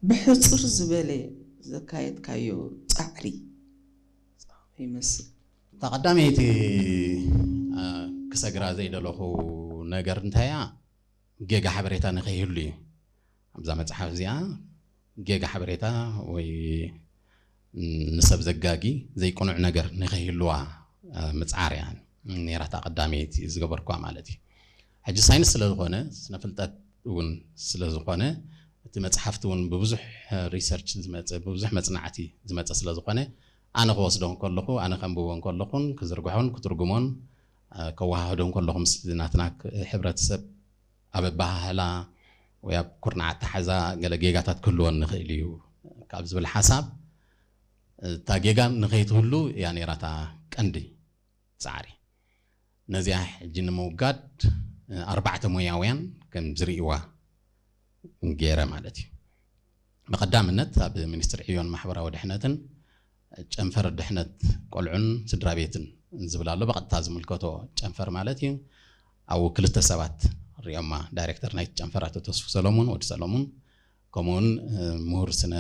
ብሕጽር ዝበለ ዘካየድካዮ ጻዕሪ ይመስል? እታ ቀዳመይቲ ክሰግራ ዘይደለኹ ነገር እንታይ እያ? ጌጋ ሓበሬታ ንኸይህሉ እዩ። ኣብዛ መጽሓፍ እዚኣ ጌጋ ሓበሬታ ወይ ንሰብ ዘጋጊ ዘይቅኑዕ ነገር ንኸይህልዋ ምጽዓር እያ ነይራ እታ ቀዳመይቲ ዝገበርኳ ማለት እዩ። ሕጂ ሳይንስ ስለ ዝኾነ፣ ስነ ፍልጠት እውን ስለ ዝኾነ፣ እቲ መጽሓፍቲ እውን ብብዙሕ ሪሰርች ዝመጸ፣ ብብዙሕ መጽናዕቲ ዝመጸ ስለ ዝኾነ፣ ኣነ ክወስዶ እንከለኹ፣ ኣነ ከንብቦ እንከለኹን ክዝርግሖን ክትርጉሞን ከወሃህዶ እንከለኹ ምስ ናትና ሕብረተሰብ ኣብ ኣበሃህላ ወይ ኣብ ኩርናዕ ኣተሓዛ ገለ ጌጋታት ክህልወን ንኽእል እዩ ካብ ዝብል ሓሳብ፣ እታ ጌጋ ንኸይትህሉ እያ ነይራ እታ ቀንዲ ጻዕሪ። ነዚኣ ሕጂ ንምውጋድ ኣርባዕተ ሞያውያን ከም ዝርእይዋ ገይረ ማለት እዩ። ብቐዳምነት ኣብ ሚኒስትሪ ዕዮን ማሕበራዊ ድሕነትን ጨንፈር ድሕነት ቆልዑን ስድራ ቤትን ዝብል ኣሎ። ብቐጥታ ዝምልከቶ ጨንፈር ማለት እዩ። ኣብኡ ክልተ ሰባት ሪኦማ፣ ዳይሬክተር ናይቲ ጨንፈር ኣቶ ተስፉ ሰሎሙን፣ ወዲ ሰሎሙን፣ ከምኡውን ምሁር ስነ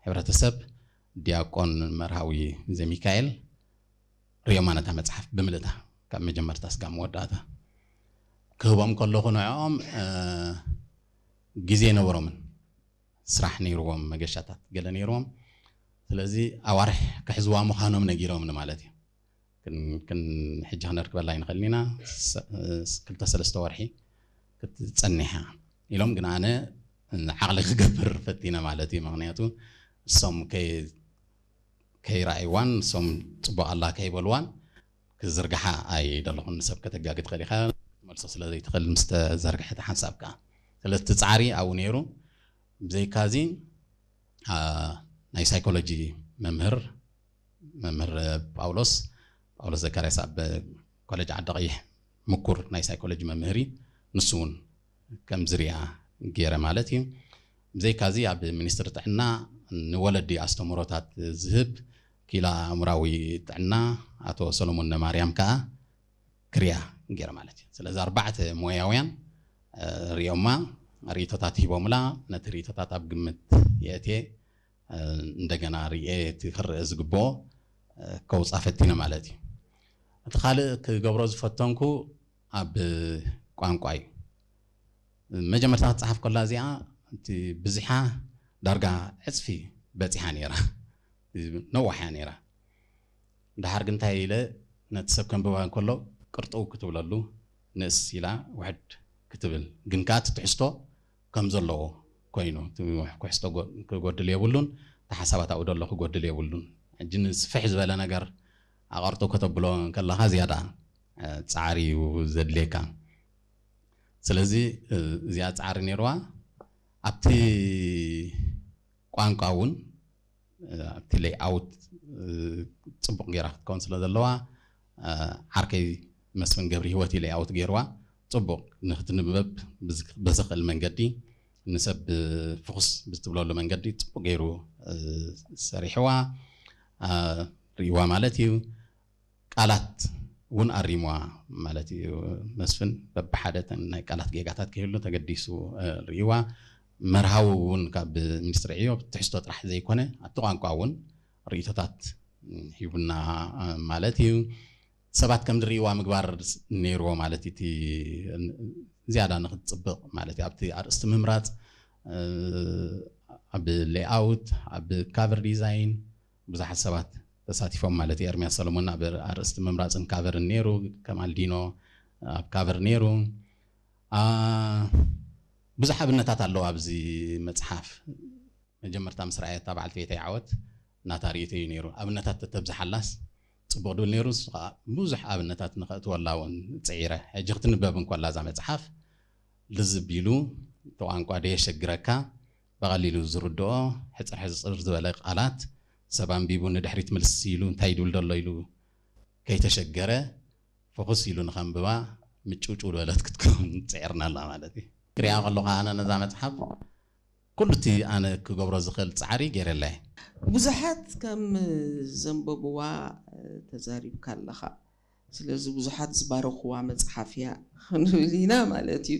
ሕብረተሰብ ዲያቆን መርሃዊ ዘሚካኤል ሪኦማ ነታ መጽሓፍ ብምልእታ ካብ መጀመርታ ስጋብ መወዳእታ ክህቦም ከለኹ ንዕኦም ግዜ ነበሮምን ስራሕ ነይርዎም፣ መገሻታት ገለ ነይርዎም። ስለዚ ኣዋርሕ ክሕዝዋ ምዃኖም ነጊሮምኒ ማለት እዩ። ክን ሕጂ ክነርክበላ ኣይንኽእልን ኢና። ክልተ ሰለስተ ወርሒ ክትጸኒሕ እያ ኢሎም፣ ግን ኣነ ዓቕሊ ክገብር ፈቲነ ማለት እዩ። ምኽንያቱ እሶም ከይረኣይዋን እሶም ጽቡቕ ኣላ ከይበልዋን ክዝርግሓ ኣይደለኹን። ንሰብ ከተጋጊ ትኽእል ኢኻ፣ ክትመልሶ ስለ ዘይትኽእል ምስ ተዘርግሐ እቲ ሓንሳብ ከኣ። ስለዚ እቲ ጻዕሪ ኣብኡ ነይሩ። ብዘይካዚ ናይ ሳይኮሎጂ መምህር፣ መምህር ጳውሎስ፣ ጳውሎስ ዘካርያስ ኣብ ኮሌጅ ዓዲ ቀይሕ ምኩር ናይ ሳይኮሎጂ መምህር እዩ። ንሱ እውን ከም ዝርኣ ገይረ ማለት እዩ። ብዘይካዚ ኣብ ሚኒስትሪ ጥዕና ንወለዲ ኣስተምህሮታት ዝህብ ክኢላ ኣእምራዊ ጥዕና ኣቶ ሰሎሞን ነማርያም ከኣ ክርያ ገይረ ማለት እዩ። ስለዚ ኣርባዕተ ሞያውያን ሪኦማ፣ ርእይቶታት ሂቦምላ። ነቲ ርእይቶታት ኣብ ግምት የእትየ፣ እንደገና ርእየ እቲ ክረአ ዝግብኦ ከውፃ ፈቲነ ማለት እዩ። እቲ ካልእ ክገብሮ ዝፈተንኩ ኣብ ቋንቋ እዩ። መጀመርታ ክትፀሓፍ ከላ እዚኣ እቲ ብዝሓ ዳርጋ ዕፅፊ በፂሓ ነይራ፣ ነዋሕ እያ ነይራ። ድሓር ግን እንታይ ኢለ ነቲ ሰብ ከንብባ እንከሎ ቅርጥው ክትብለሉ ንእስ ኢላ ውሕድ ክትብል፣ ግን ከኣ እቲ ትሕዝቶ ከም ዘለዎ ኮይኑ፣ እቲ ትሕዝቶ ክጎድል የብሉን፣ እቲ ሓሳባት ኣብኡ ዘሎ ክጎድል የብሉን። ሕጂ ንስፍሕ ዝበለ ነገር ኣቐርጥው ከተብሎ እንከለኻ ዝያዳ ጻዕሪ እዩ ዘድልየካ። ስለዚ እዚኣ ጻዕሪ ነይርዋ። ኣብቲ ቋንቋ እውን ኣብቲ ሌይኣውት ጽቡቕ ገይራ ክትከውን ስለ ዘለዋ፣ ዓርከይ መስፍን ገብሪ ህይወት እዩ ሌይኣውት ገይርዋ። ጽቡቕ ንክትንበብ ብዘኽእል መንገዲ፣ ንሰብ ፍኹስ ብትብለሉ መንገዲ ጽቡቕ ገይሩ ሰሪሕዋ፣ ርእይዋ ማለት እዩ። ቃላት እውን ኣሪምዋ ማለት እዩ መስፍን። በብሓደ እተን ናይ ቃላት ጌጋታት ክህሉ ተገዲሱ ርእይዋ። መርሃዊ እውን ካብ ሚኒስትሪ ዕዮ ትሕዝቶ ጥራሕ ዘይኮነ ኣብቲ ቋንቋ እውን ርእይቶታት ሂቡና ማለት እዩ። ሰባት ከም ዝርእይዋ ምግባር ነይርዎ ማለት እቲ ዝያዳ ንክትፅብቕ ማለት እዩ። ኣብቲ ኣርእስቲ ምምራፅ፣ ኣብ ሌይኣውት፣ ኣብ ካቨር ዲዛይን ብዙሓት ሰባት ተሳቲፎም ማለት እዩ። ኤርሚያስ ሰሎሞን ኣብ ኣርእስቲ ምምራፅን ካቨርን ነይሩ፣ ከማል ዲኖ ኣብ ካቨር ነይሩ። ብዙሕ ኣብነታት ኣለዉ ኣብዚ መፅሓፍ። መጀመርታ ምስ ረኣየታ በዓልቲ ቤተይ ዓወት ናታ ርእይቶ እዩ ነይሩ። ኣብነታት ተተብዝሓላስ ጽቡቕ ድብል ነይሩ። ንሱ ከኣ ብዙሕ ኣብነታት ንኸእትወላ እውን ጽዒረ። ሕጂ ክትንበብ እንኮላ እዛ መጽሓፍ ልዝብ ኢሉ እቲ ቋንቋ ደየሸግረካ፣ ብቐሊሉ ዝርድኦ ሕጽር ሕጽር ዝበለ ቃላት፣ ሰብ ኣንቢቡ ንድሕሪት ምልስ ኢሉ እንታይ ይድብል ዘሎ ኢሉ ከይተሸገረ ፍኹስ ኢሉ ንኸንብባ ምጭውጭው ዝበለት ክትከውን ጽዒርና ኣላ ማለት እዩ። ክሪኣ ከለኹ ኣነ ነዛ መጽሓፍ ኩሉ እቲ ኣነ ክገብሮ ዝኽእል ጻዕሪ ገይረላ እየ። ብዙሓት ከም ዘንበብዋ ተዛሪብካ ኣለኻ። ስለዚ ብዙሓት ዝባረኽዋ መጽሓፍ እያ ክንብል ኢና ማለት እዩ።